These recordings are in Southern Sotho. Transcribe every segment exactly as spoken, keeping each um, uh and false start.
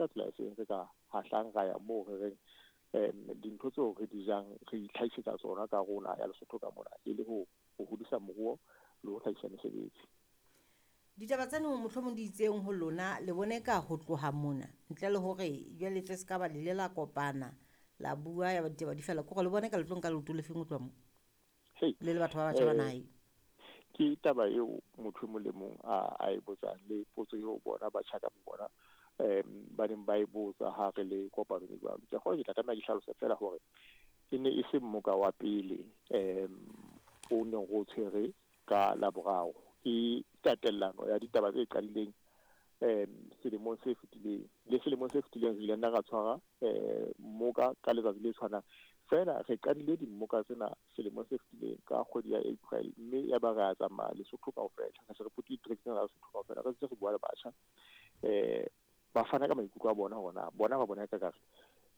ka tsela e feng re ka hahlang ra ya moo re reng um dintho tseo re di jang re itlhahisetsa tsona ka rona ya Lesotho ka mona, e le ho ho hodisa moruo le ho hlahisa mesebetsi. Ditaba tseno mohlomong di itseng ho lona, le bone ka ho tloha mona ntle le hore jwale tle se ka ba le ile la kopana la bua ya ba ditaba di fela, ke hore le bone ka le tlo nka leoto le feng ho tloha mo Hei, le le batho ba batjha ba eh, naha eo? Ke taba eo motho e mong le mong a a e botsang, le potso eo bona batjha ka bona um ba neng ba e botsa ha re le kopanong e jwalo. Ke kgolwa ke tla tlameha ke hlalose fela hore e ne e se mmoka wa pele um o neng re o tshwere ka Laboraro. Ke tatellano ya ditaba tse qadileng um selemong se fetileng. Le selemong se fetileng re ile nna ra tshwara um mmoka ka letsatsi le tshwanang. Feela re qadile dimmoka tsena selemong se fetileng ka kgwedi ya April, mme ya ba re a tsamaya Lesotho kaofela. Re se re potile ditereke tsena tsa Lesotho kaofela, re ntse re bua le batjha. Eh, ba fana ka maikutlo a bona hore na bona ba bona ekare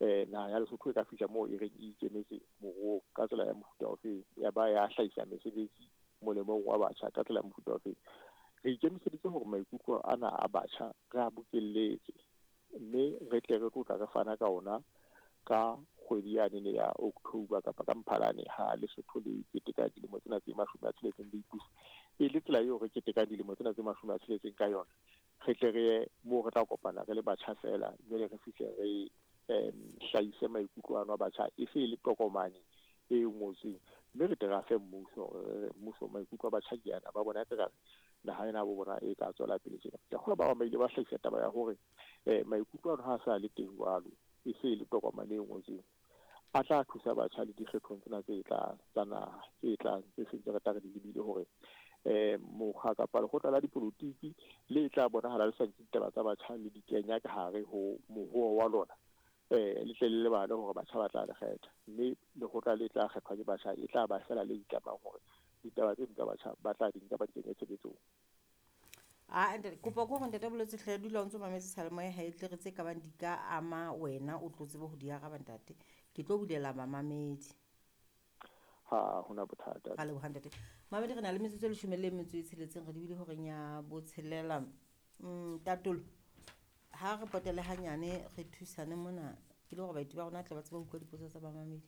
eh naha ya Lesotho e ka fihla moo e reng e ikemetse moruong ka tsela ya mofuta ofeng, ya ba ya hlahisa mesebetsi molemong wa batjha ka tsela ya mofuta ofeng. Re ikemiseditse hore maikutlo ana a batjha re a bokelletse, mme re tle re tlo tla re fana ka ona ka kgwedi yane ya October kapa ka Mphalane ha Lesotho le keteka dilemo tsena tse mashome a tsheletseng le ipusa. E le tsela eo re ketekang dilemo tsena tse mashome a tsheletseng ka yona, re tle re ye moo re tla kopana re le batjha feela, jwale re fihle re um hlahise maikutlo ano a batjha e se e le tokomane e ngotsweng, mme re tle re a fe mmuso, re re mmuso maikutlo a batjha ke ana, ba bona ekare naha ena bo bona e ka tswela pele tjena. Ke kgolwa ba bang ba ile ba hlahisa taba ya hore eh maikutlo ano ha a sa le teng jwalo, e se e le tokomane e ngotsweng, a tla thusa batjha le dikgethong tsena tse tlang tsa naha, tse tlang tse sentse re tla re di lebile hore eh mokga kapa lekgotla la dipolotiki le tla bonahala le sa nke ditaba tsa batjha le di kenya ka hare ho moruo wa lona, eh le tle le lebale hore batjha ba tla le kgetha, mme lekgotla le tla kgethwa ke batjha e tla ba fela le itlamang hore ditaba tse tsa batjha ba tla di nka ba di kenye tshebetsong. Ah, ntate, kopa ko hore ntate Boletse hle dula o ntso mametse seyalemoya ha e tle re tse ka bang di ka ama wena, o tlo tsebe ho di araba ntate. Ke tlo bulela mamamedi. Ha hona bothata. Ra leboha ntate. Mamedi, re na le metsotso e leshome le metso e tsheletseng, re dibile horeng ya botshelela. Mm, Tatolo, ha re potele hanyane re thusane mona, ke le hore baeti ba rona tle ba tsebe ho utlwa dipotso tsa bamamedi.